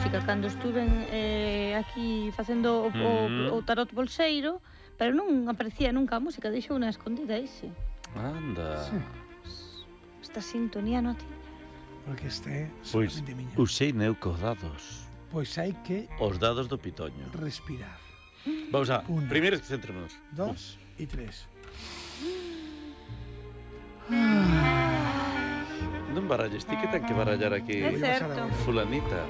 música cando estuven aquí facendo o tarot bolseiro, pero non aparecía nunca a música, deixou unha escondida ixe. Anda. Sí. Esta sintonía non tiña. Porque este é Pois solamente miña. usei eu cos dados. Pois hai que Os dados do pitoño. respirar. Vamos a, Una. primeiro centrémonos. 2 e 3. Non baralles, ti que ten que barallar aquí É certo. fulanita.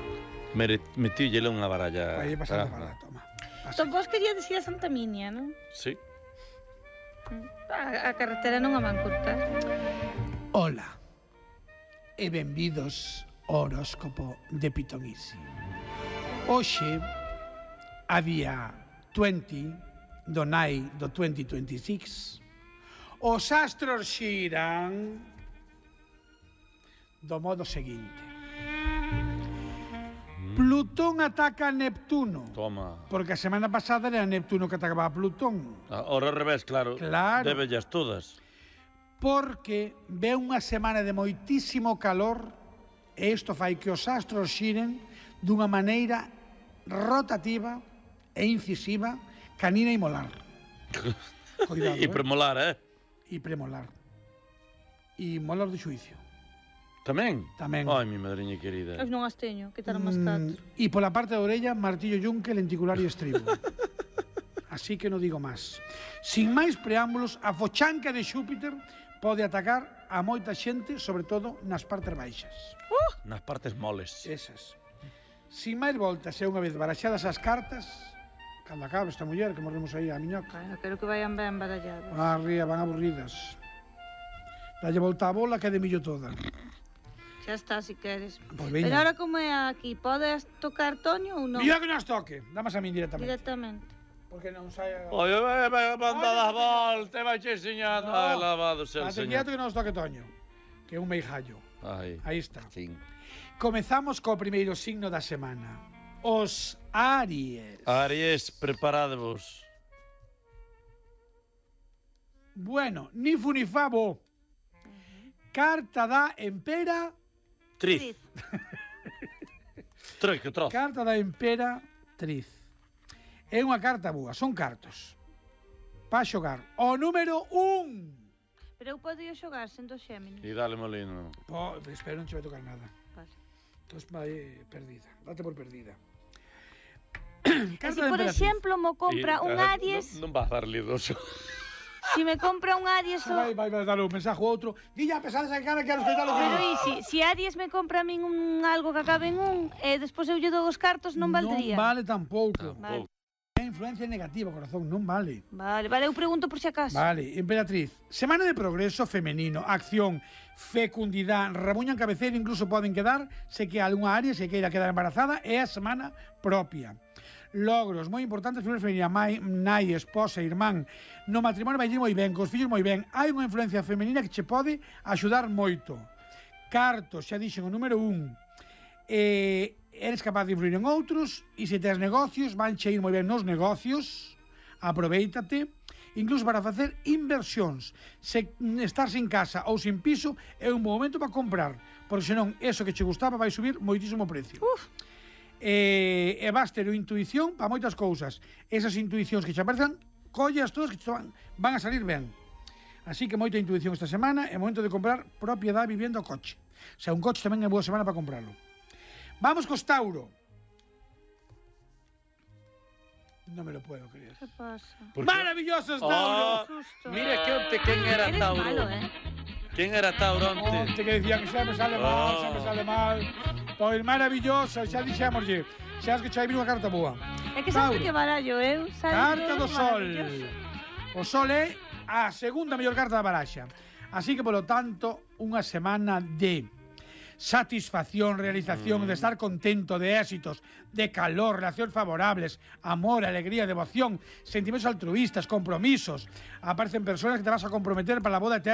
Metiulle unha baralla. Vai pasar a bala, toma. Entón vos queríades ir a Santa Minia, non? Sí. A carretera non a van cortar. Ola e benvidos ao horóscopo de Pitonisi. Hoxe, a día 20 do nai do 2026, os astros xiran do modo seguinte. Plutón ataca a Neptuno, Toma. porque a semana pasada era Neptuno que atacaba a Plutón. Ahora ao revés, claro. Claro. Débellas todas. Porque ve unha semana de moitísimo calor e isto fai que os astros xiren dunha maneira rotativa e incisiva, canina e molar. Cuidado, E premolar, E premolar. E molar do xuicio. Tamén? Tamén. Ai, mi madriña querida. Eu non as teño, quitaron as 4. E pola parte da orella, martillo yunque, lenticular e estribo. Así que non digo máis. Sin máis preámbulos, a fochanca de Xúpiter pode atacar a moita xente, sobre todo nas partes baixas. Nas partes moles. Esas. Sin máis voltas, e unha vez baraxadas as cartas, cando acabe esta muller, que morremos aí a miñoca, Bueno, quero que vayan ben baralladas. van arriba, van aburridas. Dalle volta a bola que é de millo toda. Xa está, si queres. Pois Pero veña. ahora como é aquí, podes tocar Toño ou non? Mira que nos toque. Damas a min directamente. Directamente. Porque non saia... Oi, mandada a volta, vai che enseñando. Ai, lavado sea el Ate señor. quieto que nos toque Toño, que é un meijallo. Ai, Aí está. sí. Comezamos co primeiro signo da semana. Os Aries. Aries, preparadevos. Bueno, ni fu ni fa bo. Carta da Empera. Triz. Que trozo. Carta da Emperatriz. É unha carta boa, son cartos. Pa xogar. O número 1. Pero eu podo xogar sendo Xéminis. E dale molino. Espero non che vai tocar nada. Vale. Entón vai perdida. Date por perdida. E se, por Emperatriz. exemplo, mo compra un Aries, Non vas a darle doso. se me compra un Aries... Vai dar un mensaje a outro. Dilla, a pesar desa cara, quero escoitar o que Pero diz. e si Aries me compra a min algo que acabe en un, e despois eu lle dou os cartos, non valdría? Non vale tampouco. Vale. É influencia negativa, corazón, non vale. Vale, eu pregunto por si acaso. Vale, Emperatriz. Semana de progreso femenino, acción, fecundidade, rabuña en cabeceira, incluso poden quedar, se que algunha área se queira quedar embarazada, é a semana propia. Logros moi importantes, figura femenina, nai, esposa, irmán. No matrimonio vai ir moi ben, cos fillos moi ben. Hai unha influencia femenina que che pode axudar moito. Cartos, xa dixen o número 1. Eres capaz de influir en outros, e se tes negocios, van che ir moi ben nos negocios. Aprovéitate. Incluso para facer inversións. Se estar sin casa ou sin piso, é un bom momento para comprar, porque senón, eso que che gustaba vai subir moitísimo precio. E vas ter intuición para moitas cousas. Esas intuicións que che aparezan, collas todas que te van a salir ben. Así que moita intuición esta semana, é momento de comprar propiedade, vivienda ou coche. O sea, un coche tamén é boa semana para comprarlo. Vamos cos Tauro. Non me lo puedo creer. Que pasa? Maravillosos, Tauro! Mira que onte quen era Eres Tauro. malo, Quen era Tauro onte? Onte que decían que xa me sale mal, xa me sale mal. Pois maravillosa, xa dixémoslle. Xa es que xa vir unha carta boa. É que sempre que barallo, Carta do Sol. O Sol é a segunda mellor carta da baraxa. Así que, polo tanto, unha semana de satisfacción, realización, de estar contento, de éxitos, de calor, relacións favorables, amor, alegría, devoción, sentimientos altruistas, compromisos. Aparecen personas que te vas a comprometer para la boda eterna.